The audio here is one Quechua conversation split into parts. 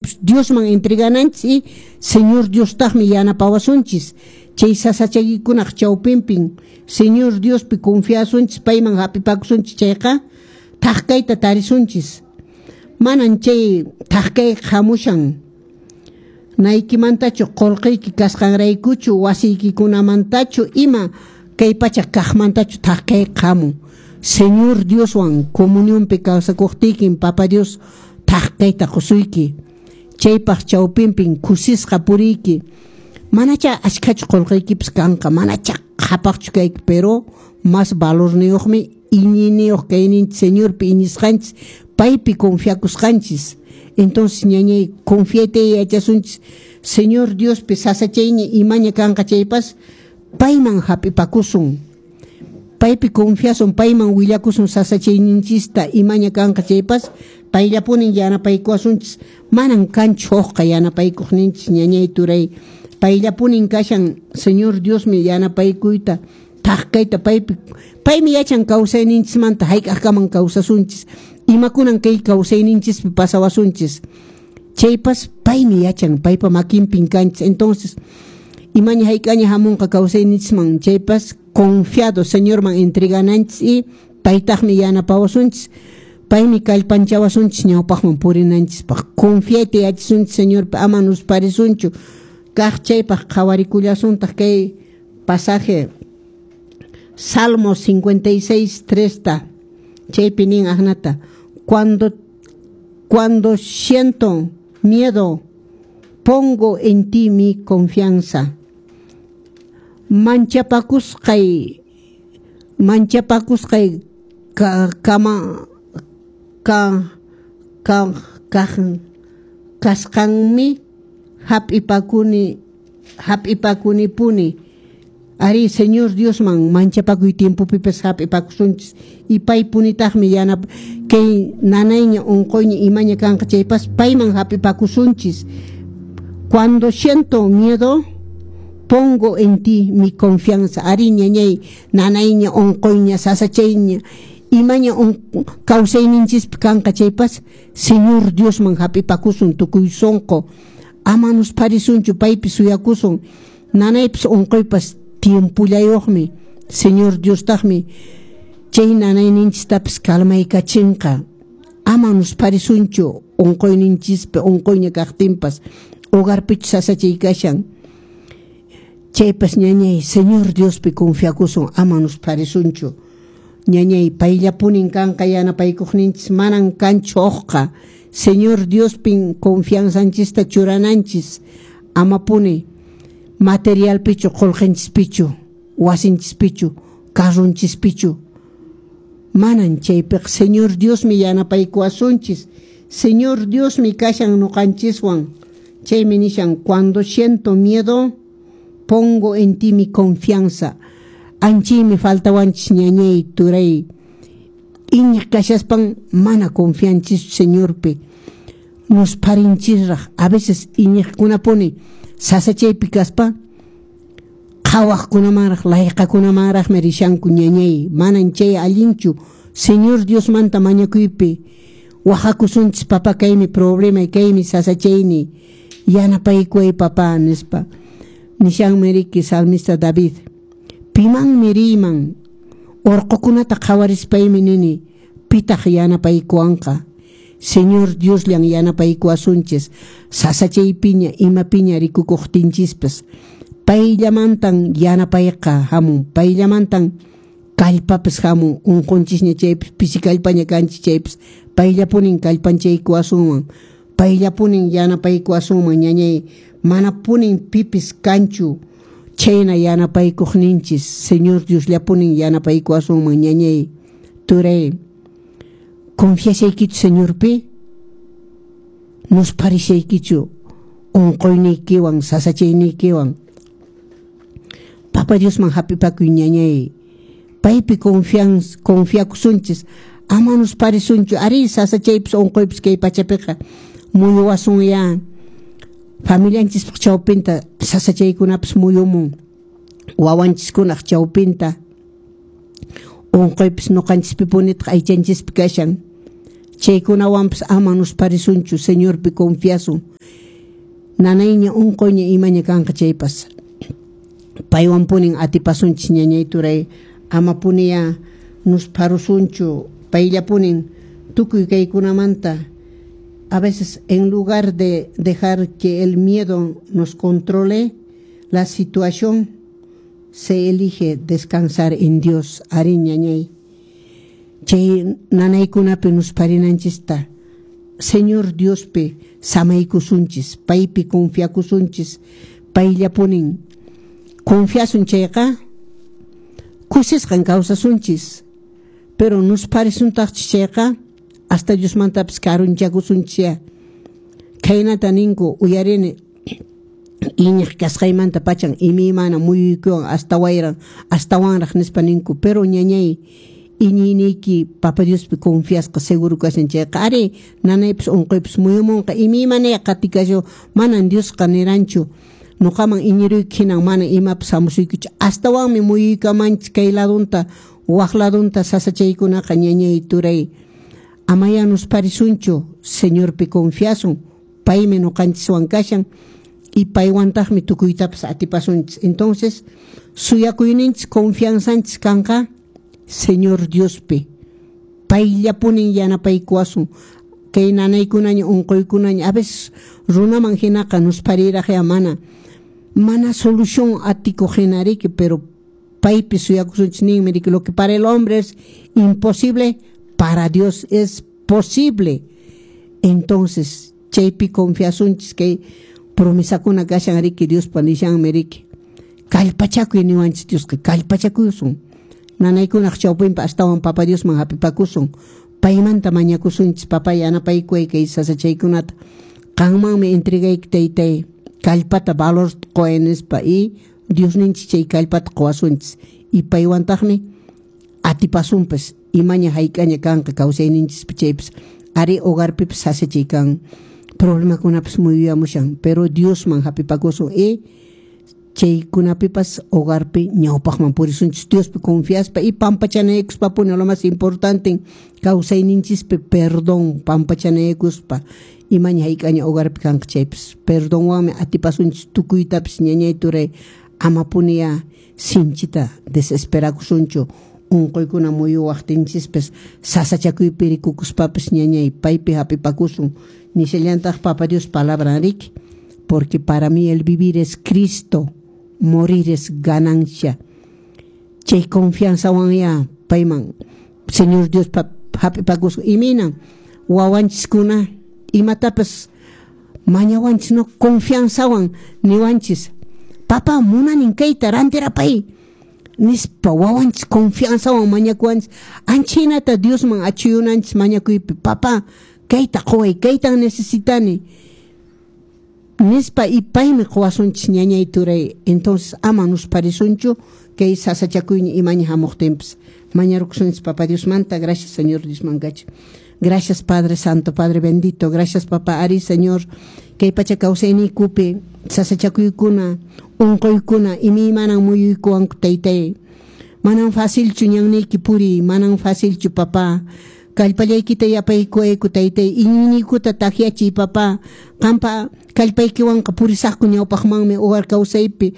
Chaypas Diosman entregananchis y Señor Diostaqmi yanapawasunchis. Chay sasachaykunaq chawpinpin Señor Diospi confiasunchis, payman hap'ipakusunchis chayqa thak kayta tarisunchis. Manan chay thak kay hamushan naykimantachu qullqiyki kasqanraykuchu wasiykikunamantachu ima kay pacha kaqmantachu thak kay hamun. Señor Dioswan comunionpi kawsakuqtiykin Papa Dios thak kayta qusuyki. Chaypaq chawpinpin kusisqa puriyki. Manacha achkhachu qullqiykipis kanqa, manacha qhapaqchu kayki, pero más valorniyuqmi iñiyniyuq kayninchis Señorpi iñisqanchis, paypi confiakusqanchis. Entonces ñañay confiayta yachasunchis Señor Diospi sasachayña imaña kanqa chaypas payman hap'ipakusun. Paypi confiasun, payman willakusun sasachayninchista imaña kanqa chaypas payllapunin yanapaykuwasunchis. Manan kanchu hukqa yanapaykuqninchis ñañay turay. Payllapunin kashan Señor Diosmi yanapaykuyta thak kayta paypi paymi yachan kawsayninchismanta hayk'aqkaman kawsasunchis imakunan kay kawsayninchispi pasawasunchis chaypas paymi yachan paypa makinpin kanchis. Entonces imaña hayk'aña hamunqa kawsayninchisman chaypas confiado Señorman entregananchis y paytaqmi yanapawasunchis. Paymi kallpanchawasunchis ñawpaqman purinanchispaq. Confiayta yachasunchis Señorpi ama nusparisunchu. Kaq chaypaq qhawarikullasuntaq kay pasaje Salmo 56, 3 ta. Chaypi nin aknata. Cuando siento miedo, pongo en ti mi confianza. Manchapakusqay ka, kama ka ka ka kasqanmi hap'ipakunipuni. Ari Señor Diosman manchapakuy tiempopipas hap'ipakusunchis y paypunitaqmi yanap kay nanayña unquyña imaña kanqa chaypas payman hap'ipakusunchis. Cuando siento miedo, pongo en ti mi confianza. Ari ñañay nanayña unquyña sasachayña imaña kawsayninchispi kanqa chaypas Señor Diosman hap'ipakusun tukuy sunqu. Ama nusparisunchu paypi suyakusun. Nanaypas unquypas tiempullayuqmi. Señor Diostaqmi chay nanayninchistapas kalmaykachinqa. Ama nusparisunchu unquyninchispi unquyña kaqtinpas hogarpichu sasachay kashan. Chaypas ñañay Señor Diospi confiakusun ama nusparisunchu. Ñañay payllapunin kanqa yanapaykuqninchis manan kanchu hukqa. Señor Diospin confianzanchista churananchis amapuni materialpichu qullqinchispichu wasinchispichu carrunchispichu. Manan chaypiqa Señor Diosmi yanapaykuwasunchis. Señor Diosmi kashan ñuqanchiswan. Chaymi nishan cuando siento miedo pongo en ti mi confianza. Anchaymi faltawanchis ñañay turay. Iñiq kashaspan mana confianchischu Señorpi. Nusparinchisraq a veces iñiqkunapuni sasachaypi kaspa qhawaqkunamanraq layqakunamanraqmi rishanku ñañay. Manan chay allinchu Señor Diosmanta mañakuypi waqakusunchis papá kaymi problema kaymi sasachayni yanapaykuway papá nispa. Nishanmi riki salmista David. Pimanmi riyman urqukunata qhawarispaymi nini pitaq yanapaykuwanqa. Señor Diosllan yanapaykuwasunchis sasachaypiña imapiña rikukuqtinchispas payllamantan yanapayqa hamun payllamantan kallpapas hamun unqunchisña chaypas pisi kallpaña kanchis chaypas payllapunin kallpanchaykuwasunman payllapunin yanapaykuwasunman ñañay manapunin pipis kanchu chayna yanapaykuqninchis Señor Diosllapunin yanapaykuwasunman ñañay turay. Confiashaykichu Señorpi nusparishaykichu unquyniykiwan sasachayniykiwan. Papa Diosman hap'ipakuy ñañay paypi confiakusunchis ama nusparisunchu ari sasachaypis unquypis kay pachapiqa muyuwasunya familianchispaq chawpinta sasachaykunapas muyumun wawanchiskunaq chawpinta unquypis ñuqanchispipunitaq aychanchispi kashan. Chaykunawanpas ama nusparisunchu, Señorpi confiasun. Nanayña unquyña imaña kanqa chaypas paywanpunin atipasunchis, ñañay turay. Amapuniya nuspharusunchu, payllapunin tukuy kaykunamanta. A veces, en lugar de dejar que el miedo nos controle la situación, se elige descansar en Dios. Ari, ñañay, chay nanaykunapi nuspharinanchista Señor Diospi samaykusunchis, paypi confiakusunchis, payllapunin confiasun chayqa kusisqan kawsasunchis. Pero nuspharisuntaqchis chayqa hasta Diosmantapis karunchakusunchis. Khaynata ninku, uyarini: iñiq kasqaymanta pachan imaymana muyuykuwan hasta wayran astawanraq nispa ninku. Pero ñañay, iñiyniyki Papa Diospi confiasqa seguro kashan chayqa, ari, nanaypis unquypis muyumunqa, imaymanaya qatikashu. Manan Diosqa niranchu nuqaman iñiruyki hinan mana imapas hamusuykichu. Astawanmi muyuykamanchis kay ladunta waq ladunta sasachaykunaqa. Ñañay turay, amaya nusparisunchu, Señorpi confiasun, paymi nuqanchiswan kashan y paywantaqmi tukuytapas atipasunchis. Entonces suyakuyninchis, confianzanchis kanqa Señor Diospi, payllapunin yanapaykuwasun. Kay nanaykunaña unquykunaña a veces runaman hinaqa nusphariraqya mana solución atikuq hina riki, pero paypi suyakusunchis. Ninmi riki: lo que para el hombre es imposible, para Dios es posible. Entonces chaypi confiasunchis. Kay promesakuna kashan riki, Diospa nishanmi riki, kallpachakuy niwanchis Diosqa. Kallpachakusun nanaykunaq chawpinpi, astawan Papa Diosman hapipakusun, paymanta mañakusunchis: Papa, yanapaykuway kay sasachaykunata, qanmanmi entregayki taytay, kallpata, valor quway nispa. Y Diosninchis chay kallpata quwasunchis y paywantaqmi atipasunpas imaña hayk'aña kanqa kawsayninchispi chaypas. Ari, hogarpipas sasachay kan, problemakunapas muyuyamushan, pero Diosman hapipakusun y chaykunapipas hogarpi ñawpaqman purisunchis Diospi confiaspa y pampachanaykuspapuni. Lo más importante kawsayninchispi perdón, pampachanaykuspa imaña hayk'aña hogarpi kanqa chaypas, perdonwanmi atipasunchis tukuytapis. Ñañay turay, amapuniya sinchita desesperakusunchu unquykuna muyuwaqtinchispis, sasachakuypi rikukuspapas. Ñañay, paypi hapipakusun. Nishallantaq Papa Dios palabra riki: porque para mí el vivir es Cristo, morir es ganancia. Chay confianzawan ya payman Señor Dios hapipakusun. Imaynan wawanchiskuna imatapas mañawanchis, no, confianzawan niwanchis: papá, munanin kayta, rantirapay nispa. Wawanchis confianzawan mañakuwanchis, anchaynata Diosman achuyunanchis mañakuypi: papá, kayta quway, kaytan necesitani nispa, y paymi quwasunchis. Ñañay turay, entonces ama nusparisunchu kay sasachakuyña imaña hamuqtinpas. Mañarukusunchis Papa Diosmanta. Gracias, Señor Diosman kacha. Gracias, Padre Santo, Padre bendito. Gracias, Papá. Ari, Señor, kay pacha kawsayniykupi sasachakuykuna, unquykuna imaymanan muyuykuwanku, taytay. Manan facilchu ñanniyki puriy, manan facilchu, papá. Kallpallaykita yapaykuwayku, taytay, iñiyniykuta takyachiy, papá. Qampa kallpaykiwanqa purisaqku ñawpaqmanmi hogar kawsaypi,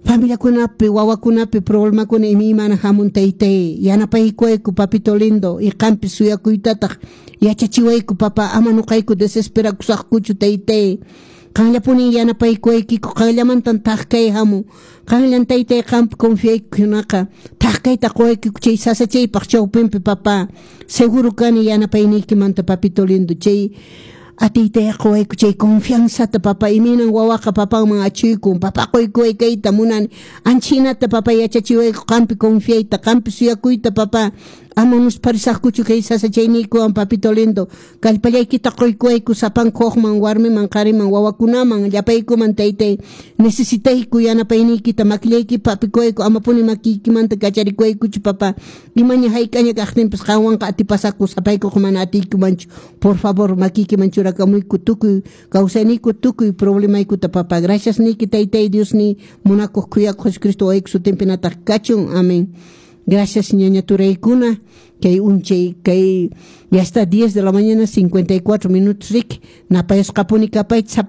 familiakunapi, wawakunapi problemakuna imaymana hamun, taytay. Yanapaykuwayku, papito lindo, y qampi suyakuytataq yachachiwayku, papá. Ama nuqayku desesperakusaqkuchu, taytay. Qanllapunin yanapaykuwaykiku, qanllamantan thak kay hamun, qanllan, taytay, qampi confiaykunaqa thak kayta quwaykiku chay sasachaypaq chawpinpi, papá. Seguro kani yanapayniykimanta, papito lindo. Chay atiyta quwayku, chay confianzata, papá. Imaynan wawaqa papanman achuykun: papá, quykuway kayta munani. Anchaynata, papá, yachachiwayku qampi confiayta, qampi suyakuyta, papá. Ama nusparisaqkuchu kay sasachayniykuwan, papito lindo. Kallpallaykita quykuwayku sapanka hukman, warmiman, qhariman, wawakunaman, llapaykuman, taytay. Necesitayku yanapayniykita, makillaykipa hapikuwayku, amapuni makiykimanta kacharikuwaykuchu, papá. Imaña hayk'aña kaqtinpas qanwanqa atipasaqku, sapaykuqa mana atiykumanchu. Por favor, makiykiman churakamuyku tukuy kawsayniyku, tukuy problemaykuta, papá. Gracias niyki, taytay Diosniy, munakuq, khuyakuq Jesucristo wawayki sutinpi nataq kachun. Amén. Gracias ñaña turaykuna, kay unchay kay ya está 10 de la mañana 54 minutos rik, napayasqapuni kapayta sapan.